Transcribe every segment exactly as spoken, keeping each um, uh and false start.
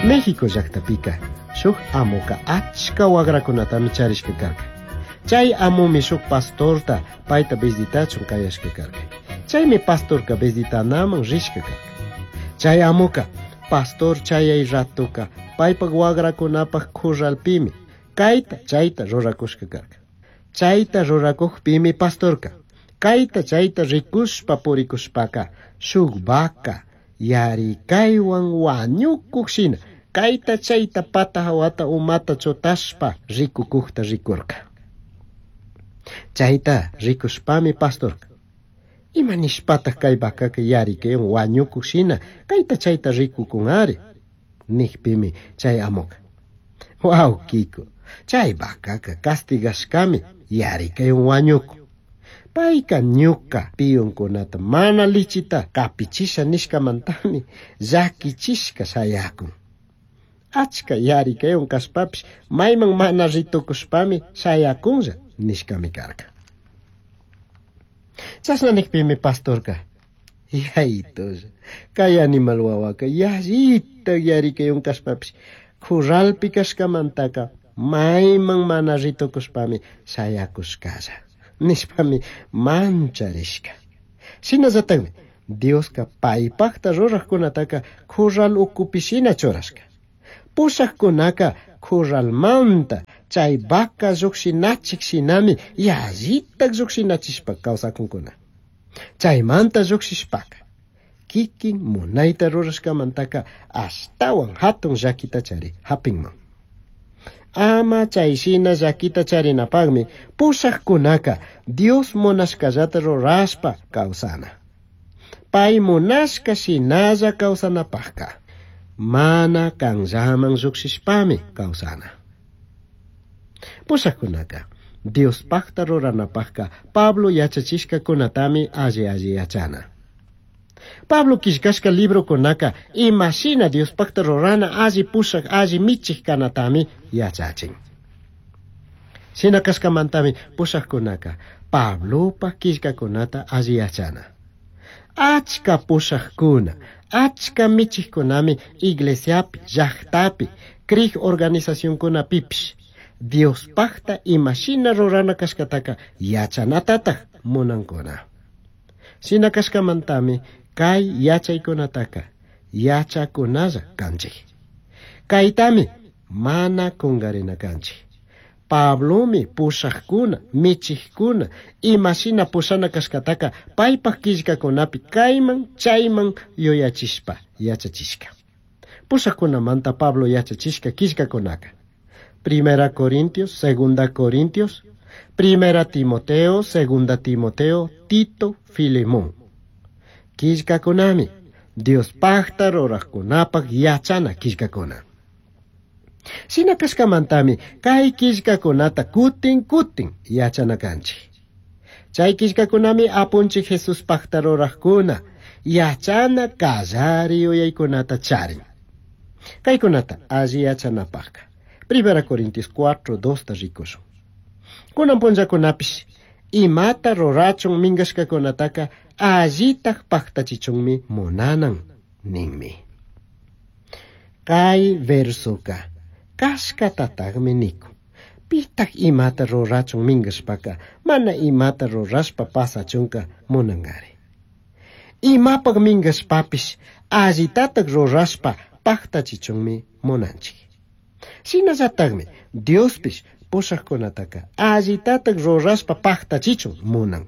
México llaqtapika shuk amuka achka wagrakunatami charishka karka. Chay amumi shuk pastorta payta visitachun kayashka karka. Chaymi pastorka visitanaman rishka karka. Chay amuka pastor chayay ratuka paypak wagrakunapaq kurralpimi kayta chayta rurakushka karka. Chayta rurakukpimi pastorka kayta chayta rikushpa purikushpaka shuk vaca yarikaywan wañukuq shina kayta chayta pata hawata umata chutashpa rikukukta rikurka. Chayta rikushpami pastorka ima nishpataq kay vacaka yarikaywan wañukuq shina kayta chayta rikukunari nikpimi chay amuka wawkiko chay vacaka castigashkami yarikaywan wañukun. Payka ñuka piyunkunata mana lichita kapichisha nishkamantami llakichishka shayakun. Achka yarikaywan kashpapish mayman mana ritukushpami shayakunlla nishkami karka. Chashna nikpimi pastorka yaytulla kay animal wawaka yallita yarikaywan kashpapish kurralpi kashkamantaka mayman mana ritukushpami shayakushkalla nishpami mancharishka. Shinallatakmi Dioska paypaqta ruraqkunataka kurral ukupi shina churashka. Pushaqkunaka kurralmanta chay vaca lluqshinachik shinami yallita lluqshinachishpa kawsakunkuna. Chaymanta lluqshishpaka kikin munayta rurashkamantaka ashtawan hatun llakita chari hapinman. Ama chay shina llakita charinapaqmi pushaqkunaka Dios munashkallata rurashpa kawsana. Pay munashka shinalla kawsanapaqka mana kanllaman lluqshishpami kawsana. Pushaqkunaka Diospaqta ruranapaqka Pablo yachachishkakunatami alli alli yachana. Pablo killkashka librokunaka imashina Diospaqta rurana alli pushaq alli michik kanatami yachachin. Shina kashkamantami pushaqkunaka Pablopaq killkakunata alli yachana. Achka pushaqkuna, achka michikkunami iglesiapi, llaqtapi, krij organizacionkunapipish Diospaqta imashina rurana kashkataka yachanatataq munankuna. Shina kashkamantami kay yachaykunataka yachakunalla kanchik. Kaytami mana kungarina kanchik. Pablomi pushaqkuna, michikkuna, imashina pushana kashkataka paypaq killkakunapi kayman chayman yuyachishpa yachachishka. Pushaqkunamanta Pablo yachachishka killkakunaka Primera Corintios, Segunda Corintios, Primera Timoteo, Segunda Timoteo, Tito, Filemón. Killkakunami Diospaqta ruraqkunapaq yachana killkakuna. Shina kashkamantami kay killkakunata kutin kutin yachana kanchik. Chay killkakunami apunchik Jesuspaqta ruraqkuna yachana kallari yuyaykunata charin. Kaykunata alli yachanapaqka Primera Corintios cuatro, dos ta rikushun. Kunan punllakunapish imata rurachun minkashkakunataka allitaq paqtachichunmi munanan ninmi. Kay versoka kashkatataqmi nikun. Pitaq imata rurachun minkashpaka mana imata rurashpa pasachunka munankari. Imapaq minkashpapish allitataq rurashpa paqtachichunmi munanchik. Shinallatakmi Diospish pushaqkunataka allitataq rurashpa paqtachichun munan.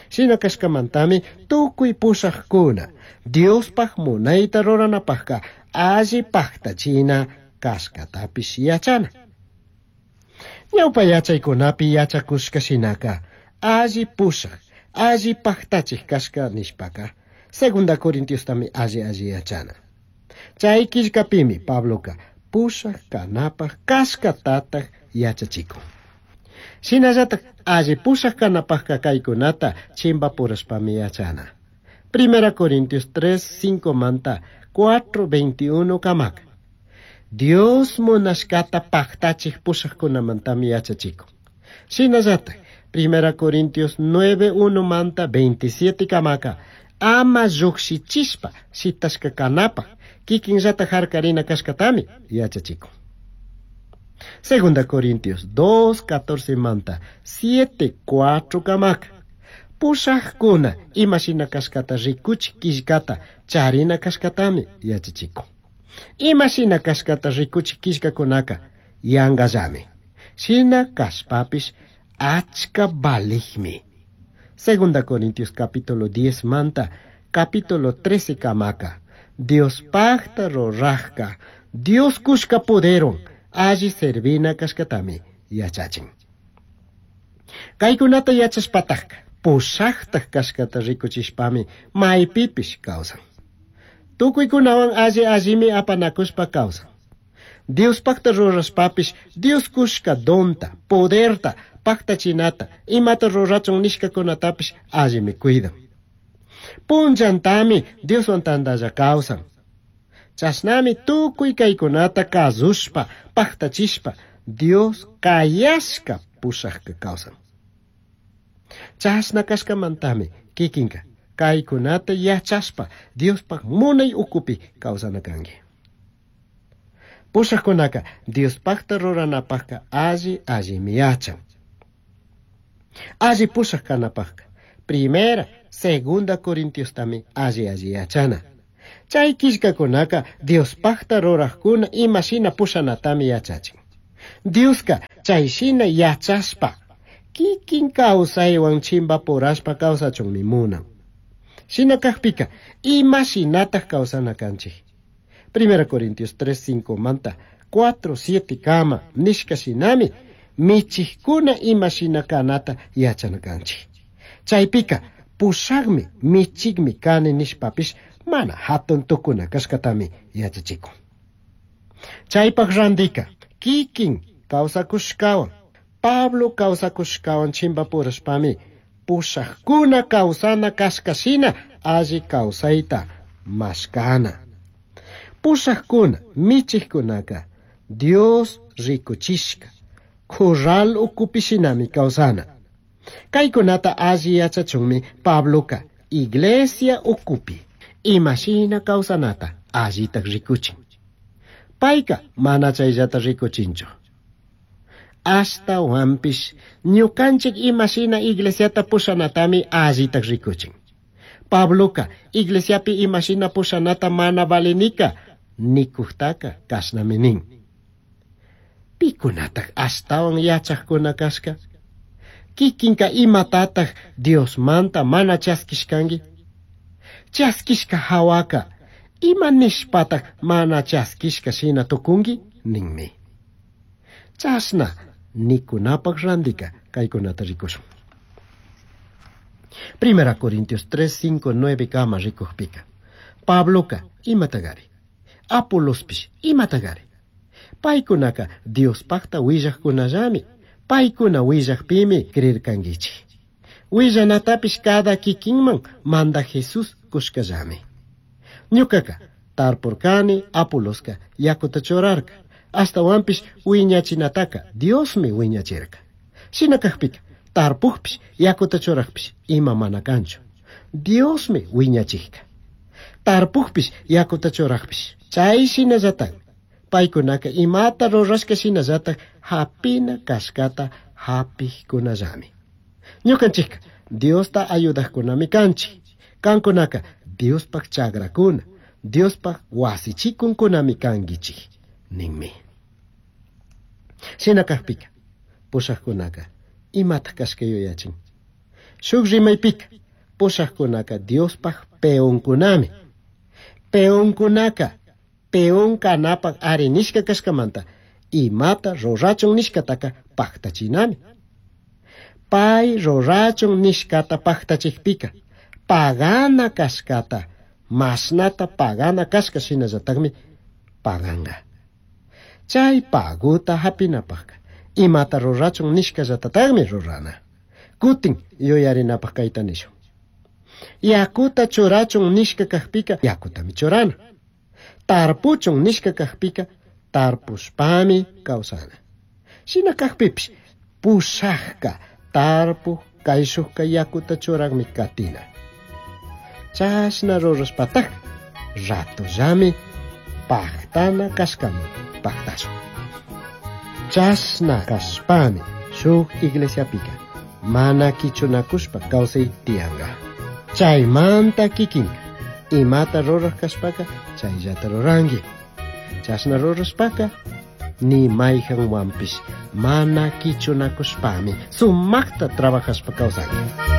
Shina kashkamantami tukuy pushaqkuna Diospaq munayta ruranapaqka alli paqtachina kashkatapish yachana. Ñawpa yachaykunapi yachakushka shinaka alli pushaq, alli paqtachik kashka nishpaka Segunda Corintiostami alli alli yachana. Chay killkapimi Pabloka pushaq kanapaq kashkatataq yachachikun. Shinallatak alli pushaq kanapaqka kaykunata chimpapurashpami yachana. Primera Corintios tres, cinco manta cuatro, veintiuno kamaka. Dios munashkata paqtachik pushaqkunamantami yachachikun. Shinallatak Primera Corintios nueve, uno manta veintisiete kamaka. Ama lluqshichishpa shitashka kanapaq Kikinllata harkarina kashkatami yachachikun. Segunda Corintios dos, catorce manta, siete, cuatro kamaka. Pushajkuna imashina kashkata rikuchik killkata charina kashkatami yachachikun. Imashina kashkata rikuchik killkakunaka yangallami. Shina kashpapish achka valijmi. Segunda Corintios capítulo diez manta, capítulo trece kamaka. Dios pacta rorajka, Dios kushka poderon, alli servina kashkatami yachachin. Kaykunata yachashpatajka, pushajtaj kashkata rikuchishpami maypipish kawsan. Tukuykunawan alli allimi apanakushpa kawsan. Dios pacta rurashpapish, Dios kushka donta, poderta, pactachinata, imata rurachun nishkakunatapish allimi cuidan. Punllantami Dioswan tantalla kawsan. Chashnami tukuy kaykunata kasushpa, pactachishpa, Dios kayashka pushajka kawsan. Chashna kashkamantami kikinka kaykunata yachashpa Diospaj munay ukupi kawsana kanki. Pushajkunaka Diospajta ruranapajka alli allimi yachan. Alli pushaj kanapajka primera, segunda Corintiostami alli alli yachana. Chay killkakunaka Diospajta rurajkuna imashina pushanatami yachachin. Dioska chayshina yachashpa kikin kawsaywan chimpapurashpa kawsachunmi munan. Shina kajpika imashinataj kawsana kanchik. Primera Corintios tres, cinco manta, cuatro, siete kama nishka shinami michijkuna imashina kanata yachana kanchik. Chaypika pushakmi michikmi kani nishpapish mana hatun tukuna kashkatami yachachikun. Chaypaj randika kikin kawsakushkawan Pablo kawsakushkawan chimpapurashpami pushajkuna kawsana kashkashina alli kawsayta mashkana. Pushajkuna michijkunaka Dios rikuchishka corral ukupishinami kawsana. Kaykunata alli yachachunmi Pabloka iglesia ukupi imashina kawsanata allitaj rikuchin. Payka mana chayllata rikuchinchu. Ashtawanpish ñukanchik imashina iglesiata pushanatami allitaj rikuchin. Pabloka iglesiapi imashina pushanata mana valinika nikujtaka kashnami nin. Pikunataj ashtawan yachajkuna kashka? Kikinka imatataj Diosmanta mana chaskishkanki? Chaskishka hawaka ima nishpataj mana chaskishka shina tukunki? Ninmi. Chashna nikunapaj randika kaykunata rikushun. Primera Corintios tres, cinco, nueve kama rikujpika. Pabloka imatagari. Apolospish imatagari. Paykunaka Diospajta willajkunallami. Paykuna willajpimi creerkankichik. Willanatapish cada kikinman manda Jesús kushkallami. Ñukaka tarpurkani, Apoloska yakuta churarka. Ashtawanpish wiñachinataka Diosmi wiñachirka. Shina kajpika tarpujpish yakuta churajpish ima mana kanchu. Diosmi wiñachijka. Tarpujpish yakuta churajpish chay shinallatak paykunaka imata rurashka shinallatak hapina kashkata hapijkunallami. Ñukanchikka Diosta ayudajkunami kanchik. Kankunaka Diospaj chagrakuna, Diospaj wasichikunkunami kankichik ninmi. Shina kajpika pushajkunaka imataj kashka yuyachin. Shuk rimaypika pushajkunaka Diospaj peonkunami. Peonkunaka peon kanapaj ari nishka kashkamanta imata rurachun nishkataka paktachinami. Pay rurachun nishkata paktachikpika pagana kashkata mashnata pagana kashka shinallatakmi paganga. Chay paguta hapinapajka imata rurachun nishkallatatagmi rurana. Kutin yuyarinapaj kayta nishun. Yakuta churachun nishka kajpika yakutami churana. Tarpuchun nishka kajpika tarpushpami kawsana. Shina kajpipish pushajka tarpuj kayshujka yakuta churajmi katina. Chashna rurashpataj ratollami Pajtana cashcaman pajtashun. Chashna cashpami shuk iglesiapika mana quichunakushpa kawsay tiyanga. Chaymanta kikinka imata ruraj kashpaka chayllata ruranki. Chashna rurashpaka ni mayhanwanpish mana quichunakushpami sumakta trabajashpa kawsanki.